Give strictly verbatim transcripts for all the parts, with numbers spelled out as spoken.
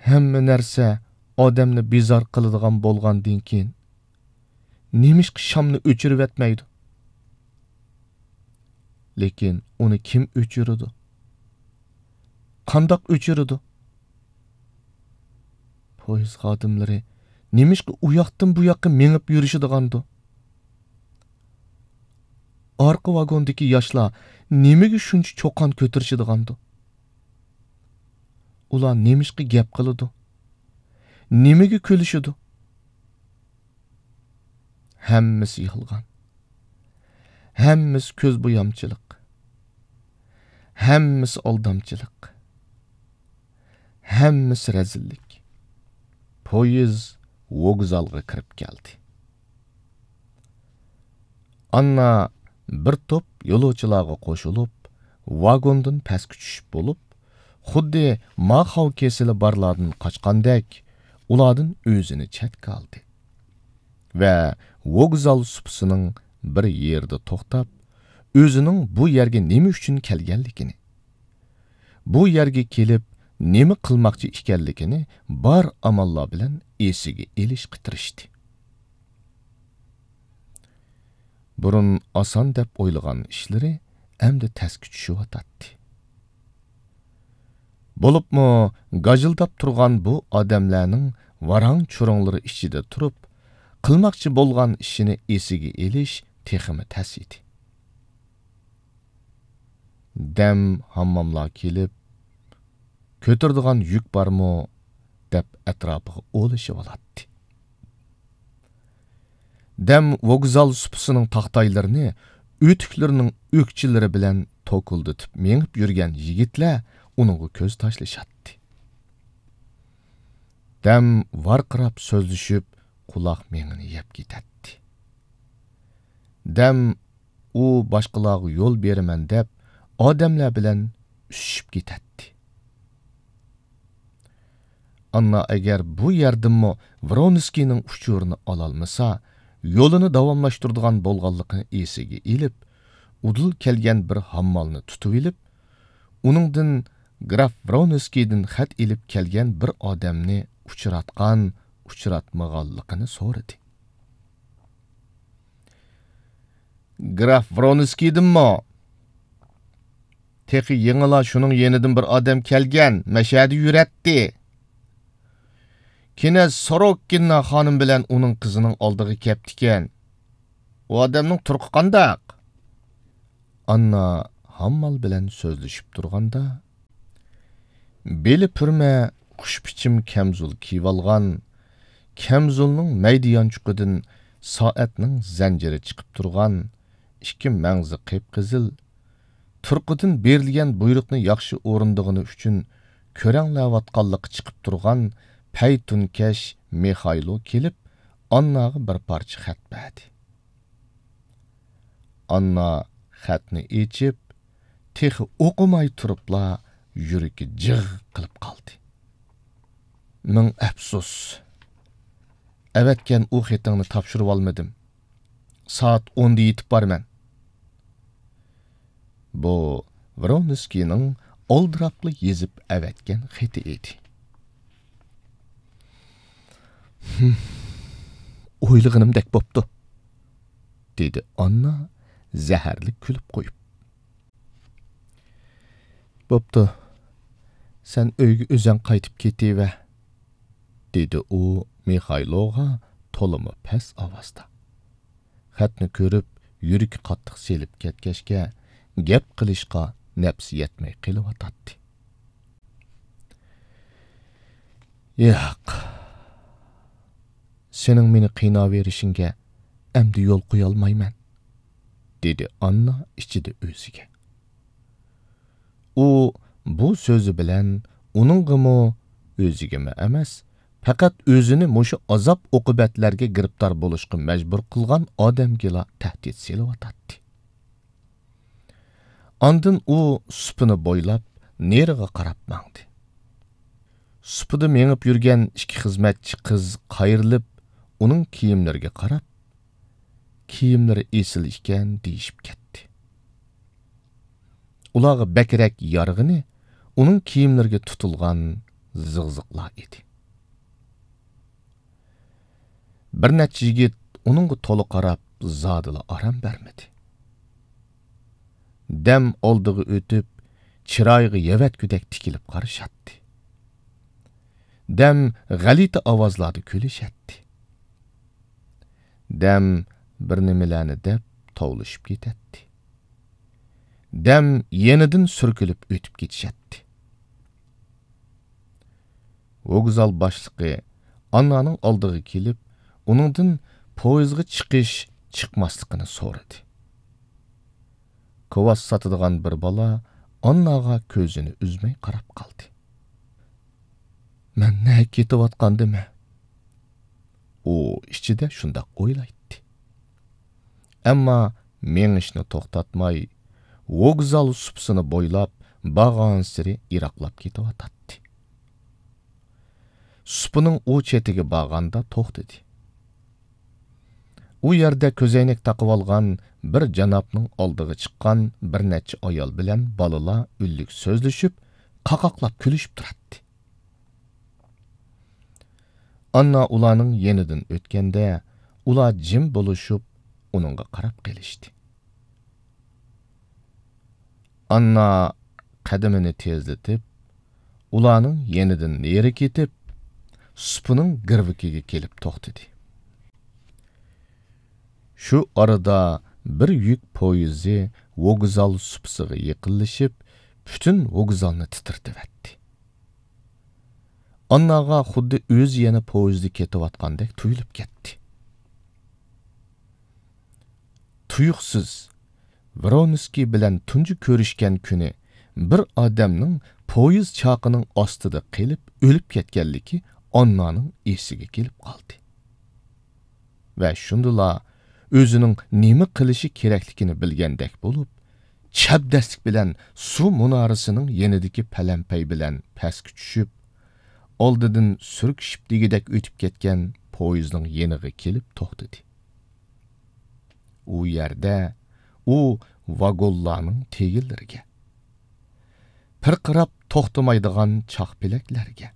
ھەممە نەرسە ئادەمنى بىزار قىلىدىغان بولغاندىن كېيىن، نېمىشقا شامنى ئۆچۈرۈۋەتمەيدۇ؟ لېكىن ئۇنى كىم ئۆچۈرىدۇ؟ قانداق ئۆچۈرىدۇ؟ پويىز خادىملىرى نېمىشقا ئۇ ياقتىن بۇ ياققا مېڭىپ يۈرۈشىدىغاندۇ؟ ئارقا ۋاگوندىكى ياشلار نېمىگە شۇنچە چۇقان كۆتۈرۈشىدىغاندۇ؟ ئۇلار نېمىشقا گەپ قىلىدۇ؟ نېمىگە كۈلۈشىدۇ؟ ھەممىسى يالغان. ھەممىسى كۆز بويامچىلىق. ھەممىسى ئالدامچىلىق. ھەممىسى رەزىللىك. پويىز ۋوگزالغا كىرىپ كەلدى. ئاننا بىر توپ يولۇچىلارغا قوشۇلۇپ، ۋاگوندىن پەسكە چۈشۈپ بولۇپ، خۇددى ماخاۋ كېسىلى بارلاردىن قاچقاندەك، ئۇلاردىن ئۆزىنى چەتكە ئالدى ۋە ۋوگزال سۇپىسىنىڭ بىر يېرىدە توختاپ، ئۆزىنىڭ بۇ يەرگە نېمە ئۈچۈن كەلگەنلىكىنى، بۇ يەرگە كېلىپ نېمە قىلماقچى ئىكەنلىكىنى بار ئاماللار بىلەن ئېسىگە ئېلىشقا تىرىشتى. بۇرۇن ئاسان دەپ ئويلىغان ئىشلىرى ئەمدى تەسكە چۈشۈۋاتاتتى. بولۇپمۇ گاجىلداپ تۇرغان بۇ ئادەملەرنىڭ ۋاراڭ-چۇرۇڭلىرى ئىچىدە تۇرۇپ، قىلماقچى بولغان ئىشىنى ئېسىگە ئېلىش تېخىمۇ تەس ئىدى. دەم ھامماللار كېلىپ، كۆتۈرىدىغان يۈك بارمۇ؟ دەپ ئەتراپىغا ئولىشىۋالاتتى. دەم ۋوگزال سۇپىسىنىڭ تاختايلىرىنى ئۆتۈكلىرىنىڭ ئۆكچىلىرى بىلەن توكۇلدىتىپ مېڭىپ يۈرگەن يىگىتلەر ئۇنىڭغا كۆز تاشلىشاتتى. دەم ۋارقىراپ سۆزلىشىپ، قۇلاق مېڭىنى يەپ كېتەتتى. دەم ئۇ باشقىلارغا يول بېرىمەن دەپ، ئادەملەر بىلەن ئۈسۈشۈپ كېتەتتى. ئاننا ئەگەر بۇ يەردىنمۇ ۋرونسكىينىڭ ئۇچۇرىنى ئالالمىسا، يولىنى داۋاملاشتۇرىدىغان بولغانلىقىنى ئېسىگە ئېلىپ، ئۇدۇل كەلگەن بىر ھاممالنى تۇتۇۋېلىپ، ئۇنىڭدىن گراف ۋرونسكىيدىن خەت ئېلىپ كەلگەن بىر ئادەمنى ئۇچراتقان، ئۇچراتمىغانلىقىنى سورىدى. گراف ۋرونسكىيدىنمۇ؟ تېخى يېڭىلا شۇنىڭ يېنىدىن بىر ئادەم كەلگەن، مەشەدە يۈرەتتى. كېنەز سوروككىنا خانىم بىلەن ئۇنىڭ قىزىنىڭ ئالدىغا كەپتىكەن. ئۇ ئادەمنىڭ تۇرقى قانداق؟ ئاننا ھاممال بىلەن سۆزلىشىپ تۇرغاندا، بېلى پۈرمە، خۇش پىچىم كەمزۇل كىيىۋالغان، كەمزۇلنىڭ مەيدە يانچۇقىدىن سائەتنىڭ زەنجىرى چىقىپ تۇرغان، ئىككى مەڭزى قىپقىزىل، تۇرقىدىن بېرىلگەن بۇيرۇقنى ياخشى ئورۇندىغىنى ئۈچۈن كۆرەڭلەۋاتقانلىقى چىقىپ تۇرغان پەيتۇنكەش مىخايلو كېلىپ، ئانناغا بىر پارچە خەت بەردى. ئاننا خەتنى ئېچىپ، تېخى ئوقۇماي تۇرۇپلا يۈرىكى جىغ قىلىپ قالدى. مىڭ ئەپسۇس! ئەۋەتكەن ئۇ خېتىڭنى تاپشۇرۇۋالمىدىم. سائەت ئوندا يېتىپ بارىمەن. بۇ ۋرونسكىينىڭ ئالدىراپلا يېزىپ ئەۋەتكەن خېتى ئىدى. «ھىم، ئويلىغىنىمدەك بوپتۇ»، دېدى ئاننا زەھەرلىك كۈلۈپ قويۇپ. «بوپتۇ، سەن ئۆيگە ئۆزەڭ قايتىپ كېتىۋەر»، دېدى ئۇ مىخايلوغا تولىمۇ پەس ئاۋازدا. خەتنى كۆرۈپ، يۈرىكى قاتتىق سېلىپ كەتكەچكە، گەپ قىلىشقا نەپسى يەتمەي قېلىۋاتاتتى. «ياق، سېنىڭ مېنى قىيناۋېرىشىڭگە ئەمدى يول قويالمايمەن»، دېدى ئاننا ئىچىدە ئۆزىگە. ئۇ بۇ سۆزى بىلەن ئۇنىڭغىمۇ، ئۆزىگىمۇ ئەمەس، پەقەت ئۆزىنى مۇشۇ ئازاب-ئوقۇبەتلەرگە گىرىپتار بولۇشقا مەجبۇر قىلغان ئادەمگىلا تەھدىت سېلىۋاتاتتى. ئاندىن ئۇ سۇپىنى بويلاپ نېرىغا قاراپ ماڭدى. سۇپىدا مېڭىپ يۈرگەن ئىككى خىزمەتچى قىز قايرىلىپ، ئۇنىڭ كىيىملىرىگە قاراپ، «كىيىملىرى ئېسىل ئىكەن» دېيىشىپ كەتتى. ئۇلارغا بەكرەك يارىغىنى ئۇنىڭ كىيىملىرىگە تۇتۇلغان زىغزىغلار ئىدى. بىر نەچچە يىگىت ئۇنىڭغا تولا قاراپ، زادىلا ئارام بەرمىدى. دەم ئالدىغا ئۆتۈپ، چىرايىغا يەۋەتكۈدەك تىكىلىپ قارىشاتتى. دەم غەلىتە ئاۋازلاردا كۈلۈشەتتى. دەم بىر نېمىلەرنى دەپ توۋلىشىپ كېتەتتى. دەم يېنىدىن سۈركىلىپ ئۆتۈپ كېتىشەتتى. ۋوگزال باشلىقى ئاننانىڭ ئالدىغا كېلىپ، ئۇنىڭدىن پويىزغا چىقىش، چىقماسلىقىنى سورىدى. كوۋاس ساتىدىغان بىر بالا ئانناغا كۆزىنى ئۈزمەي قاراپ قالدى. مەن نەگە كېتىۋاتقاندىمەن؟ ئۇ ئىچىدە شۇنداق ئويلايتتى. ئەمما مېڭىشنى توختاتماي، ۋوگزال سۇپىسىنى بويلاپ بارغانسېرى يىراقلاپ كېتىۋاتاتتى. سۇپىنىڭ ئۇ چېتىگە بارغاندا توختىدى. ئۇ يەردە كۆزەينەك تاقىۋالغان بىر جانابنىڭ ئالدىغا چىققان بىر نەچچە ئايال بىلەن بالىلار ئۈنلۈك سۆزلىشىپ، قاقاقلاپ كۈلۈشۈپ تۇراتتى. ئاننا ئۇلارنىڭ يېنىدىن ئۆتكەندە، ئۇلار جىم بولۇشۇپ، ئۇنىڭغا قاراپ قېلىشتى. ئاننا قەدىمىنى تېزلىتىپ، ئۇلارنىڭ يېنىدىن نېرى كېتىپ، سۇپىنىڭ گىرۋىكىگە كېلىپ توختىدى. شۇ ئارىدا بىر يۈك پويىزى ۋوگزال سۇپىسىغا يېقىنلىشىپ، پۈتۈن ۋوگزالنى تىترىتىۋەتتى. ئانناغا خۇددى ئۆزى يەنە پويىزدا كېتىۋاتقاندەك تۇيۇلۇپ كەتتى. تۇيۇقسىز، ۋرونسكىي بىلەن تۇنجى كۆرۈشكەن كۈنى بىر ئادەمنىڭ پويىز چاقىنىڭ ئاستىدا قېلىپ ئۆلۈپ كەتكەنلىكى ئاننانىڭ ئېسىگە كېلىپ قالدى. ۋە شۇندىلا ئۆزىنىڭ نېمە قىلىشى كېرەكلىكىنى بىلگەندەك بولۇپ، چەبدەسلىك بىلەن سۇ مۇنارىسىنىڭ يېنىدىكى پەلەمپەي بىلەن پەسكە چۈشۈپ، ئالدىدىن سۈركىشىپ دېگۈدەك ئۆتۈپ كەتكەن پويىزنىڭ يېنىغا كېلىپ توختىدى. ئۇ يەردە ئۇ ۋاگونلارنىڭ تېگىلىرىگە، پىرقىراپ توختىمايدىغان چاق پېلەكلەرگە،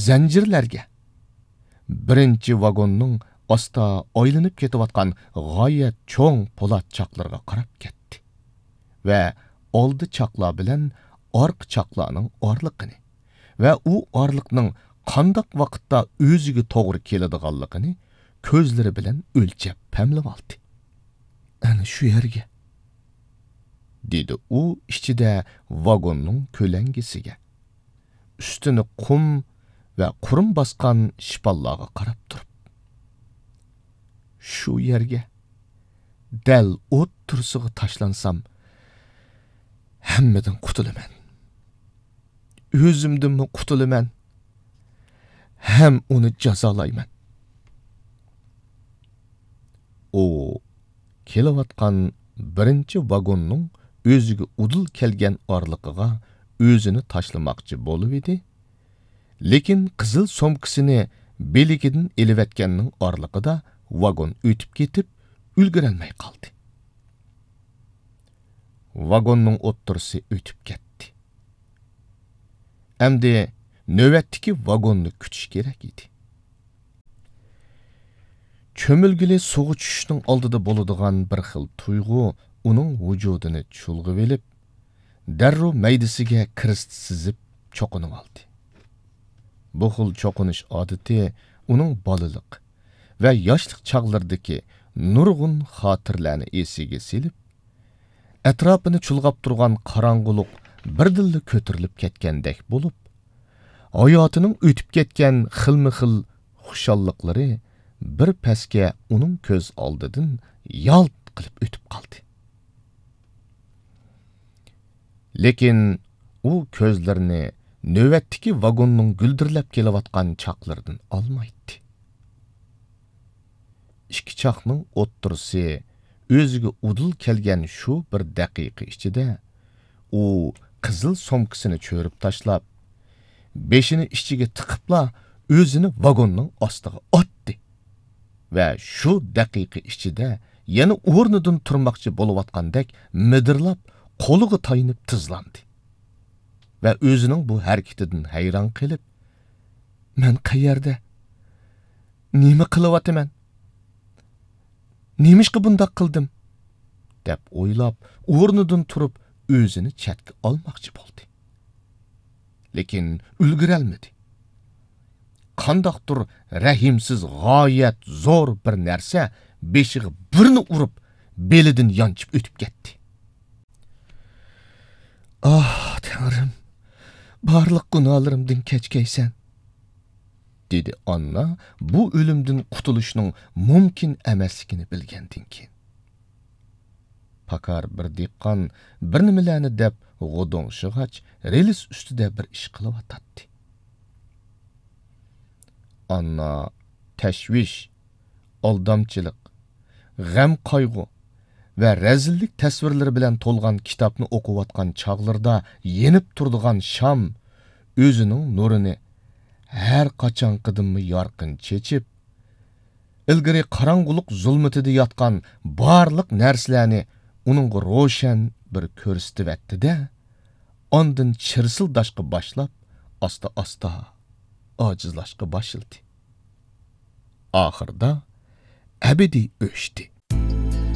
زەنجىرلەرگە، بىرىنچى ۋاگوننىڭ ئاستا ئايلىنىپ كېتىۋاتقان غايەت چوڭ پولات چاقلىرىغا قاراپ كەتتى ۋە ئالدى چاقلار بىلەن ئارقا چاقلارنىڭ ئارىلىقىنى ۋە ئۇ ئارىلىقنىڭ قانداق ۋاقىتتا ئۆزىگە توغرا كېلىدىغانلىقىنى كۆزلىرى بىلەن ئۆلچەپ پەملىۋالدى. «ئەنە شۇ يەرگە»، دېدى ئۇ ئىچىدە ۋاگوننىڭ كۆلەڭگىسىگە، ئۈستىنى قۇم ۋە قۇرۇم باسقان شىپاللارغا قاراپ تۇرۇپ. «شۇ يەرگە، دەل ئوتتۇرىسىغا تاشلانسام، ھەممىدىن قۇتۇلىمەن. ئۆزۈمدىنمۇ قۇتۇلىمەن، ھەم ئۇنى جازالايمەن.» ئۇ كېلىۋاتقان بىرىنچى ۋاگوننىڭ ئۆزىگە ئۇدۇل كەلگەن ئارىلىقىغا ئۆزىنى تاشلىماقچى بولۇۋىدى، لېكىن قىزىل سومكىسىنى بىلىكىدىن ئېلىۋەتكەننىڭ ئارىلىقىدا ۋاگون ئۆتۈپ كېتىپ، ئۈلگۈرەلمەي قالدى. ۋاگوننىڭ ئوتتۇرىسى ئۆتۈپ كەتتى. ئەمدى نۆۋەتتىكى ۋاگوننى كۈتۈش كېرەك ئىدى. چۆمۈلگىلى سۇغا چۈشۈشنىڭ ئالدىدا بولىدىغان بىر خىل تۇيغۇ ئۇنىڭ ۋۇجۇدىنى چۇلغىۋېلىپ، دەررۇ مەيدىسىگە كىرىست سىزىپ چوقۇنۇۋالدى. بۇ خىل چوقۇنۇش ئادىتى ئۇنىڭ بالىلىق ۋە ياشلىق چاغلىرىدىكى نۇرغۇن خاتىرىلەرنى ئېسىگە سېلىپ، ئەتراپىنى چۇلغاپ تۇرغان قاراڭغۇلۇق بىردىنلا كۆتۈرۈلۈپ كەتكەندەك بولۇپ، ھاياتىنىڭ ئۆتۈپ كەتكەن خىلمۇ خىل خۇشاللىقلىرى بىر پەسكە ئۇنىڭ كۆز ئالدىدىن يالت قىلىپ ئۆتۈپ قالدى. لېكىن ئۇ كۆزلىرىنى نۆۋەتتىكى ۋاگوننىڭ گۈلدۈرلەپ كېلىۋاتقان چاقلىرىدىن ئالمايتتى. ئىككى چاقنىڭ ئوتتۇرىسى ئۆزىگە ئۇدۇل كەلگەن شۇ بىر دەقىقە ئىچىدە ئۇ قىزىل سومكىسىنى چۆرۈپ تاشلاپ، بېشىنى ئىچىگە تىقىپلا ئۆزىنى ۋاگوننىڭ ئاستىغا ئاتتى ۋە شۇ دەقىقە ئىچىدە يەنە ئورنىدىن تۇرماقچى بولۇۋاتقاندەك مىدىرلاپ قولىغا تايىنىپ تىزلاندى. ۋە ئۆزىنىڭ بۇ ھەرىكىتىدىن ھەيران قېلىپ، «مەن قەيەردە؟ نېمە قىلىۋاتىمەن؟ نېمىشقا بۇنداق قىلدىم؟» دەپ ئويلاپ، ئورنىدىن تۇرۇپ، ئۆزىنى چەتكە ئالماقچى بولدى. لېكىن ئۈلگۈرەلمىدى. قانداقتۇر رەھىمسىز، غايەت زور بىر نەرسە بېشىغا بىرنى ئۇرۇپ، بېلىدىن يانچىپ ئۆتۈپ كەتتى. «ئاھ، تەڭرىم، بارلىق گۇناھلىرىمدىن كەچكەيسەن»، دېدى ئاننا بۇ ئۆلۈمدىن قۇتۇلۇشنىڭ مۇمكىن ئەمەسلىكىنى بىلگەندىن كېيىن. پاكار بىر دېھقان بىر نېمىلەرنى دەپ غودوڭشىغاچ، رېلىس ئۈستىدە بىر ئىش قىلىۋاتاتتى. ئاننا تەشۋىش، ئالدامچىلىق، غەم-قايغۇ ۋە رەزىللىك تەسۋىرلىرى بىلەن تولغان كىتابنى ئوقۇۋاتقان چاغلىرىدا يېنىپ تۇرىدىغان شام ئۆزىنىڭ نۇرىنى ھەر قاچانقىدىنمۇ يارقىن چېچىپ، ئىلگىرى قاراڭغۇلۇق زۇلمىتىدا ياتقان بارلىق نەرسىلەرنى ئۇنىڭغا روشەن بىر كۆرسىتىۋەتتى-دە، ئاندىن چىرسىلداشقا باشلاپ، ئاستا-ئاستا ئاجىزلاشقا باشلىدى. ئاخىرىدا ئەبەدىي ئۆچتى.